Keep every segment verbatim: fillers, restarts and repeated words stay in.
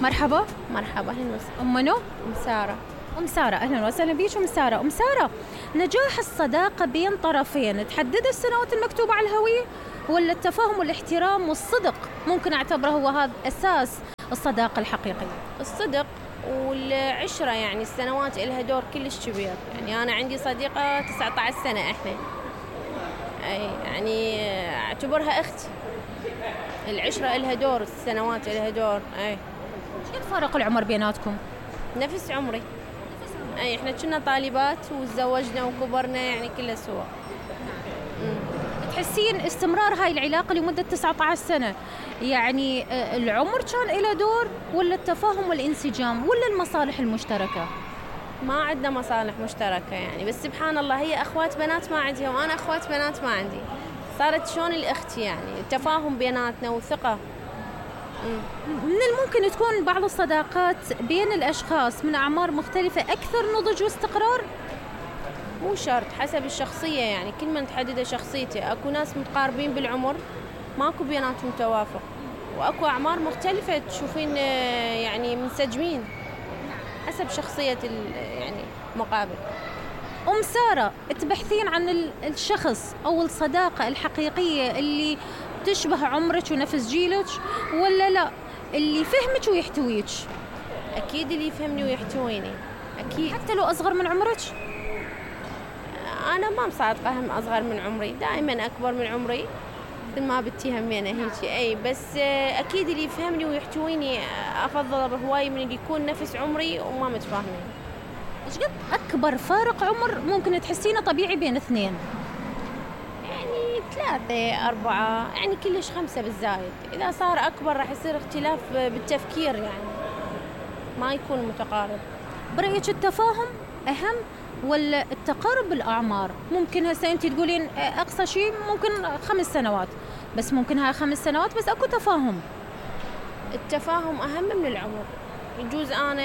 مرحبا. مرحبا، أهلا وسهلا. أم منو؟ أم سارة. أم سارة، أهلا وسهلا بيش أم سارة. أم سارة، نجاح الصداقة بين طرفين تحدد السنوات المكتوبة على الهوية، ولا التفاهم والاحترام والصدق ممكن أعتبره هو هذا أساس الصداقة الحقيقية؟ الصدق والعشرة، يعني السنوات إلها دور كلش كبير. يعني أنا عندي صديقة تسعة عشر سنة إحنا، أي يعني أعتبرها أختي. العشرة إلها دور، السنوات إلها دور. أي شو فارق العمر بيناتكم؟ نفس عمري. أي إحنا كنا طالبات وتزوجنا وكبرنا، يعني كله سوا. تحسين استمرار هاي العلاقة لمدة تسعة عشر سنة يعني العمر كان له دور، ولا التفاهم والانسجام، ولا المصالح المشتركة؟ ما عندنا مصالح مشتركة يعني، بس سبحان الله هي أخوات بنات ما عندها وأنا أخوات بنات ما عندي، صارت شلون الأخت يعني، التفاهم بيناتنا وثقة. من الممكن تكون بعض الصداقات بين الأشخاص من أعمار مختلفة أكثر نضج واستقرار؟ مو شرط، حسب الشخصية يعني، كل من تحدد شخصيته. أكو ناس متقاربين بالعمر ماكو بيناتهم توافق، وأكو أعمار مختلفة تشوفين يعني منسجمين حسب شخصية يعني مقابل. أم سارة، تبحثين عن الشخص أو الصداقة الحقيقية اللي تشبه عمرك ونفس جيلك، ولا لا اللي يفهمك ويحتويك؟ أكيد اللي يفهمني ويحتويني، أكيد. حتى لو أصغر من عمرك؟ أنا ما مصادقة هم أصغر من عمري، دائما أكبر من عمري مثل ما بتهمينا هيك. أي بس أكيد اللي يفهمني ويحتويني أفضل هواي من اللي يكون نفس عمري وما متفاهمين. إيش قد أكبر فارق عمر ممكن تحسينه طبيعي بين اثنين؟ يعني ثلاثة أربعة، يعني كلش خمسة بالزايد. إذا صار أكبر راح يصير اختلاف بالتفكير، يعني ما يكون متقارب. برأيك التفاهم أهم ولا التقارب بالأعمار؟ ممكن هسه أنت تقولين أقصى شيء ممكن خمس سنوات، بس ممكن هاي خمس سنوات بس أكو تفاهم. التفاهم أهم من العمر. يجوز أنا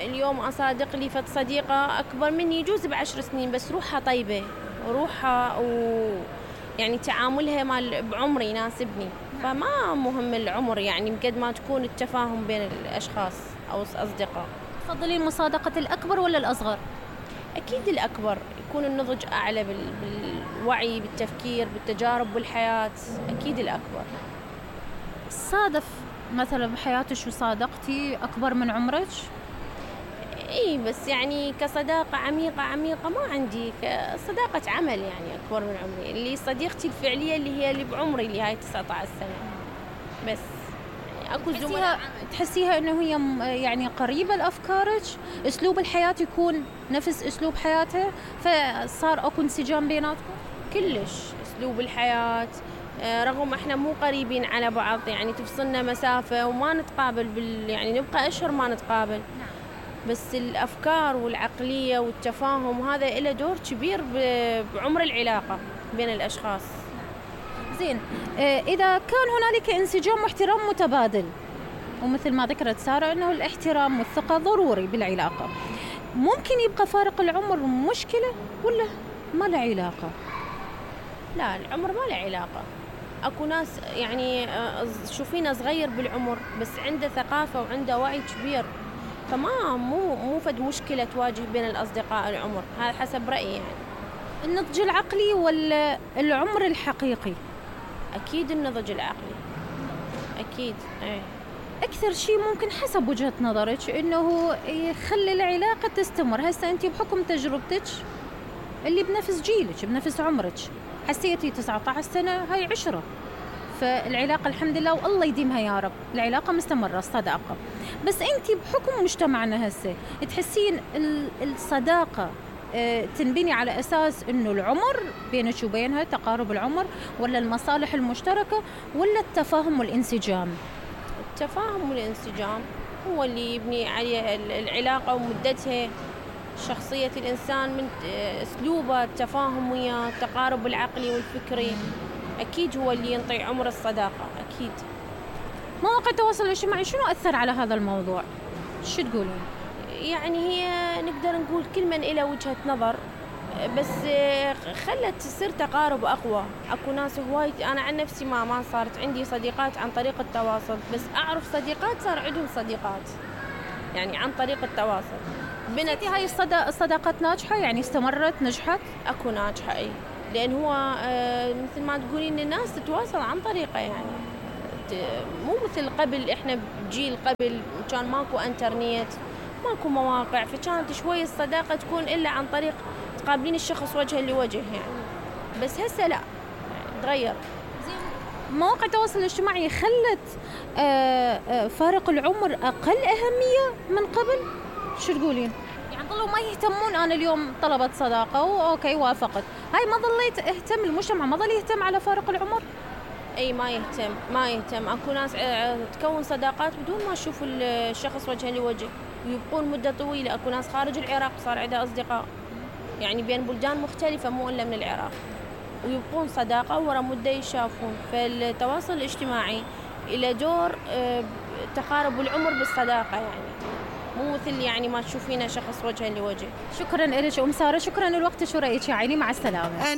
اليوم أصادق لي فت صديقة أكبر مني يجوز بعشر سنين، بس روحها طيبة وروحها ويعني تعاملها مال بعمري يناسبني، فما مهم العمر يعني قد ما تكون التفاهم بين الأشخاص أو الأصدقاء. تفضلين مصادقة الأكبر ولا الأصغر؟ أكيد الأكبر، يكون النضج أعلى بالوعي بالتفكير بالتجارب بالحياة، أكيد الأكبر. صادف مثلا بحياتك وصادقتي أكبر من عمرك؟ إيه بس يعني كصداقة عميقة عميقة ما عندي، كصداقة عمل يعني أكبر من عمري. اللي صديقتي الفعلية اللي هي اللي بعمري اللي هاي تسعة عشر سنة بس. يعني أكو زملاء تحسيها إنه هي يعني قريبة لأفكارك، أسلوب الحياة يكون نفس أسلوب حياتها، فصار أكو انسجام بيناتكم؟ كلش أسلوب الحياة، رغم احنا مو قريبين على بعض يعني تفصلنا مسافة وما نتقابل بال يعني نبقى أشهر ما نتقابل، بس الأفكار والعقلية والتفاهم هذا له دور كبير بعمر العلاقة بين الأشخاص. زين، إذا كان هنالك انسجام واحترام متبادل، ومثل ما ذكرت سارة أنه الاحترام والثقة ضروري بالعلاقة، ممكن يبقى فارق العمر مشكلة ولا ما له علاقة؟ لا، العمر ما له علاقة. أكو ناس يعني شوفينه صغير بالعمر بس عنده ثقافة وعنده وعي كبير، فما مو مو فد مشكلة تواجه بين الأصدقاء العمر، هذا حسب رأيي يعني. النضج العقلي ولا العمر الحقيقي؟ أكيد النضج العقلي، أكيد. ايه أكثر شيء ممكن حسب وجهة نظرك إنه يخلي العلاقة تستمر. هسه أنت بحكم تجربتك اللي بنفس جيلك بنفس عمرك حسيتي تسعة عشر سنة هاي عشرة، فالعلاقة الحمد لله والله يديمها يا رب، العلاقة مستمرة الصداقة. بس أنت بحكم مجتمعنا هسه تحسين الصداقة تنبني على أساس إنه العمر بينك وبينها تقارب العمر، ولا المصالح المشتركة، ولا التفاهم والانسجام؟ التفاهم والانسجام هو اللي يبني عليه العلاقة ومدتها. شخصية الإنسان من أسلوبه، التفاهم وياه، التقارب العقلي والفكري، أكيد هو اللي ينطي عمر الصداقة. أكيد. مواقع التواصل الاجتماعي شنو أثر على هذا الموضوع؟ شو تقولين؟ يعني هي نقدر نقول كل من إله وجهة نظر، بس خلت تصير تقارب أقوى. أكو ناس هواي، أنا عن نفسي ما ما صارت عندي صديقات عن طريق التواصل، بس أعرف صديقات صار عندهم صديقات يعني عن طريق التواصل. بنت هاي الصداقات ناجحة يعني استمرت نجحت؟ أكو ناجحة أي، لأن هو مثل ما تقولين الناس تتواصل عن طريقه، يعني مو مثل قبل. إحنا بجيل قبل كان ماكو انترنت، ماكو مواقع، فكانت شوي الصداقة تكون إلا عن طريق تقابلين الشخص وجها لوجه يعني. بس هسه لا، تغير. مواقع التواصل الاجتماعي خلت فارق العمر أقل أهمية من قبل؟ شو تقولين؟ يعني ظلوا ما يهتمون. أنا اليوم طلبت صداقة وأوكي وافقت، هاي ما ظليت اهتم، المجتمع ما ظل يهتم على فارق العمر؟ اي ما يهتم ما يهتم اكو ناس تكون صداقات بدون ما تشوف الشخص وجها لوجه ويبقون مدة طويلة. اكو ناس خارج العراق صار عندها أصدقاء يعني بين بلدان مختلفة مو إلا من العراق، ويبقون صداقة ورا مدة يشافون. فالتواصل الاجتماعي إلى دور تقارب العمر بالصداقة، يعني مو مثل يعني ما تشوفينه شخص وجها لوجه. شكرا لك أم سارة، شكرا لوقتك ورأيك يا عيني، مع السلامة.